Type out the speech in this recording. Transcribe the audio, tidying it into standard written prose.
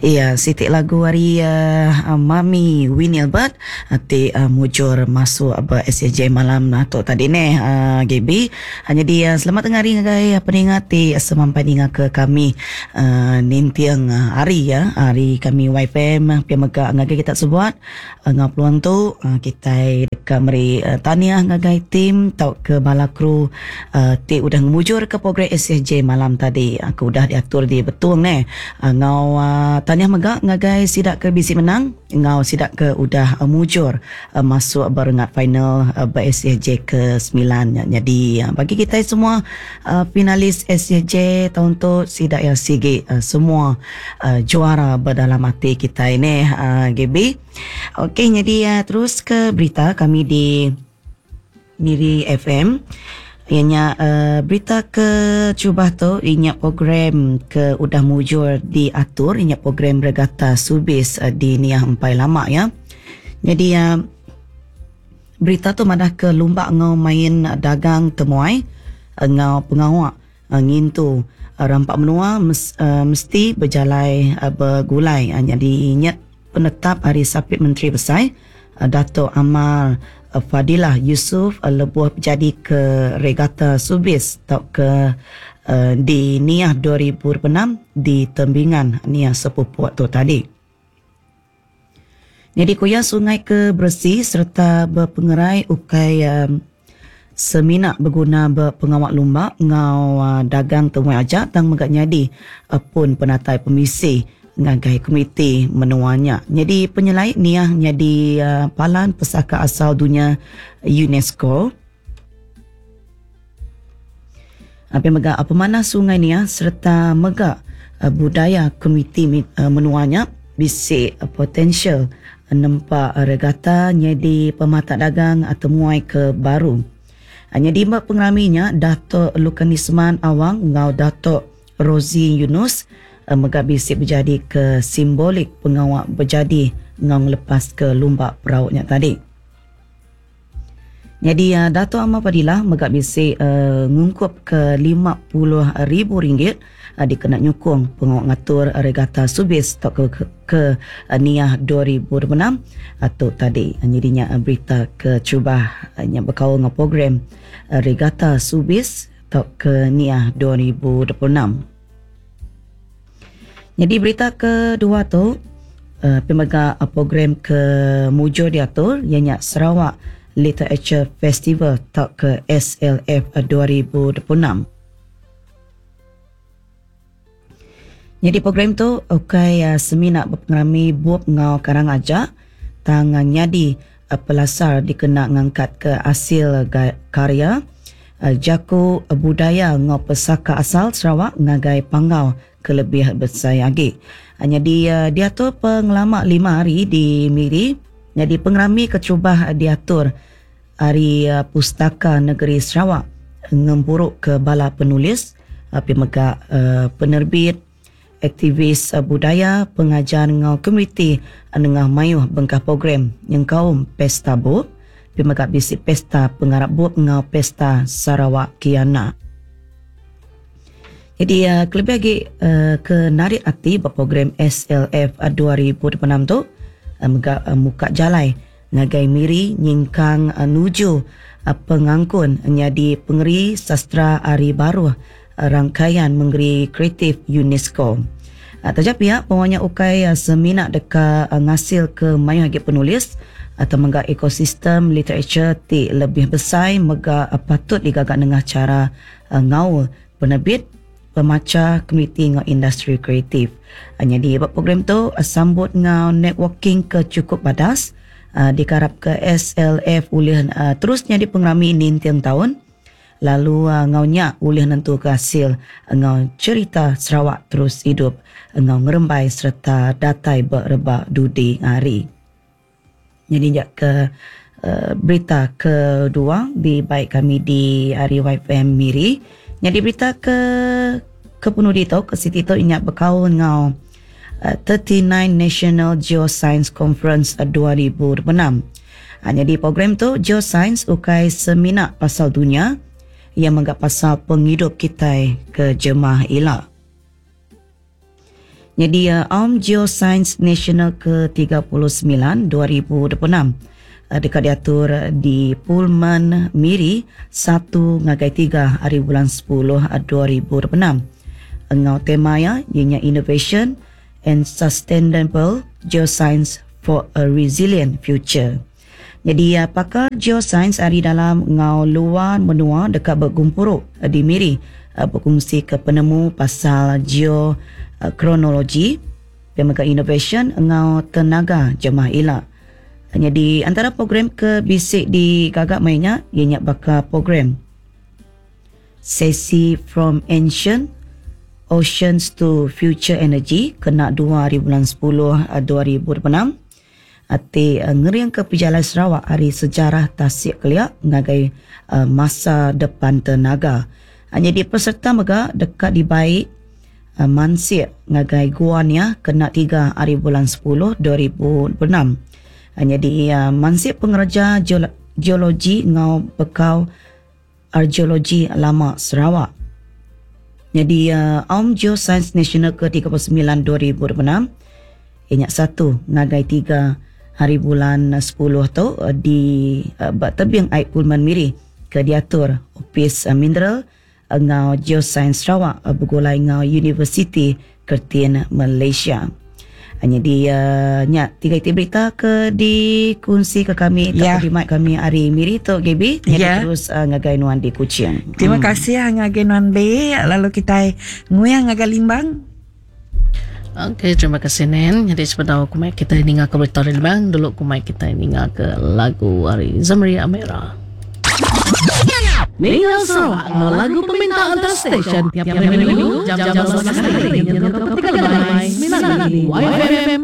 Iya siti lagu ari uh, Mami Winnie Albert ti uh, mujur masuk ba SAJ malam tu tadi neh uh, GB. Nyadi uh, selamat tengah hari ngagai peninga ti semampai ninga ke kami uh, ninting hari ya hari kami YFM pia mega ngagai kita sebuat enggau peluang tu uh, kitai deka meri uh, tahniah ngagai tim tauka bala kru uh, ti udah ngemujur ke program SSJ malam tadi uh, ke udah diatur di Betong neh. Enggau uh, tahniah mega ngagai sida ke bisi menang enggau sida ke udah uh, mujur uh, masuk ba rengat final uh, ba SSJ ke 9. Nyadi uh, bagi kitai semua uh, finalis SSJ taun tu sida ya sigi uh, semua uh, juara ba dalam ati kitai neh uh, GB. Okey nyadi uh, terus ke berita kami di Miri FM iya nya uh, berita ke cubah tu inya program ke udah mujur diatur inya program Regata Subis uh, di Niah Empai Lama ya. Jadi uh, berita tu madah ke lumba ngau main dagang temuai ngau pengawa ngintu rampa menua mesti bejalai begulai. Nyadi nya penetap ari Sapit Menteri Besai Datuk Amar Fadillah Yusof lebuh bejadi ke Regata Subis tauka di Niah 2026 di Tembingan Niah Sepupok tu tadi. Nyadi ku iya sungai ke beresi sereta bepengerai ukai semina beguna ba pengawa lumba enggau dagang temuai aja tang mega nyadi pun penatai pemisi ngagai komiti menua nya. Nyadi penyelai Niah nyadi Palan Pesaka Asal Dunya UNESCO. Pia mega pemanah sungai Niah sereta mega budaya komiti menua nya bisi potensial nempa regata nyadi pematak dagang temuai ke baru. Nyadi ba pengerami nya Datuk Lukanisman Awang enggau Datuk Rosey Yunus mega bisi bejadi ke simbolik pengawa bejadi enggau ngelepaska lumba perau nya tadi. Nyadi Datuk Amar Fadillah mega bisi ngungkup ke 50,000 ringgit dikena nyukung pengawa ngatur Regata Subis tauka ke Niah 2026 tu tadi. Nyadi nya berita ke terubah nya bekaul enggau program Regata Subis tauka Niah 2026. Nyadi berita kedua tu pemega program ke mujur diatur iya nya Sarawak Literature Festival tauka SLF 2026. Nyadi program tu ukai semina bepengerami bup enggau karang aja tang nyadi pelasar dikena ngangkatka asil karya jaku budaya enggau pesaka asal Sarawak ngagai panggau ke lebih besai agi. Nyadi diatur pengelama 5 hari di Miri nyadi pengerami keterubah diatur ari Pustaka Negeri Sarawak ngempuruka bala penulis, pia mega penerbit, aktivis budaya, pengajar enggau komuniti nengah mayuh bengkah program nyengkaum Pesta Bup, pia mega bisi Pesta Pengarap Bup enggau Pesta Sarawak Kiana. Nyadi kelebih agi ke narit ati ba program SLF 2026 tu mega muka jalai ngagai Miri nyingkang nuju pengangkun nyadi pengeri sastera ari baruh rangkaian mengeri kreatif UNESCO. Taja pia, pengawa nya ukai semina deka ngasilka mayuh agi penulis atau mega ekosistem literature ti lebih besai mega patut digaga nengah chara ngaul penerbit, pemacha, komiti enggau industri kreatif. Nyadi ba program tu sambut enggau networking ke chukup badas dikarapka SLF ulih terus nyadi pengerami ninting taun lalu enggau nya ulih nentuka asil enggau cherita Sarawak terus idup enggau ngerembai sereta datai ba rebak dudi hari. Nyadi nya ke berita kedua dibai kami di ari YFM Miri. Nyadi berita ke ke penudi tu ke siti tu inya bekaul enggau 39 National Geoscience Conference 2026. Nyadi program tu Geoscience ukai semina pasal dunya, iya mega pasal pengidup kitai ke jemah ila. Nyadi Aum Geoscience Nasional ke 39 2026 deka diatur di Pullman Miri satu ngagai tiga ari bulan sepuluh 2026 enggau tema iya iya nya Innovation and Sustainable Geoscience for a Resilient Future. Nyadi pakar geosains ari dalam enggau luar menua deka begumpuru di Miri bekunsika penemu pasal geokronologi, pia mega inovasyen enggau tenaga jemah ila. Nyadi antara program ke bisi digaga maya nya iya nya baka program Sesi From Ancient Oceans to Future Energy kena dua ari bulan sepuluh 2026. Ti ngeringka pejalai Sarawak ari sejarah tasik kelia ngagai masa depan tenaga. Nyadi peserta mega deka dibai mansik ngagai Gua Nia kena tiga ari bulan sepuluh 2026. Nyadi mansik pengereja geologi enggau bekau argeologi lama Sarawak. Nyadi Aum Geosains Nasional ke 39 2026 iya nya satu ngagai tiga hari bulan sepuluh tu di ba tebing ai Pullman Miri ke diatur Opis Mineral enggau Geosains Sarawak begulai enggau Universiti Kertin Malaysia. Nyadi nya tiga iti berita ke dikunsika kami tauka dimai kami ari Miri tu Gaby. Nyadi terus ngagai nuan di Kuching. Terima kasih ngagai nuan Be lalu kitai nguing ngagai Limbang. Okey terima kasih Nen. Nyadi sebedau ku mai kitai ninga ke berita ari Limbang dulu ku mai kitai ninga ke lagu ari Zamri Amera. Ninga Sarawak enggau lagu peminta antara stesen tiap hari minggu jam 11 hari nyentuk ke 3 lemai semina di YFM.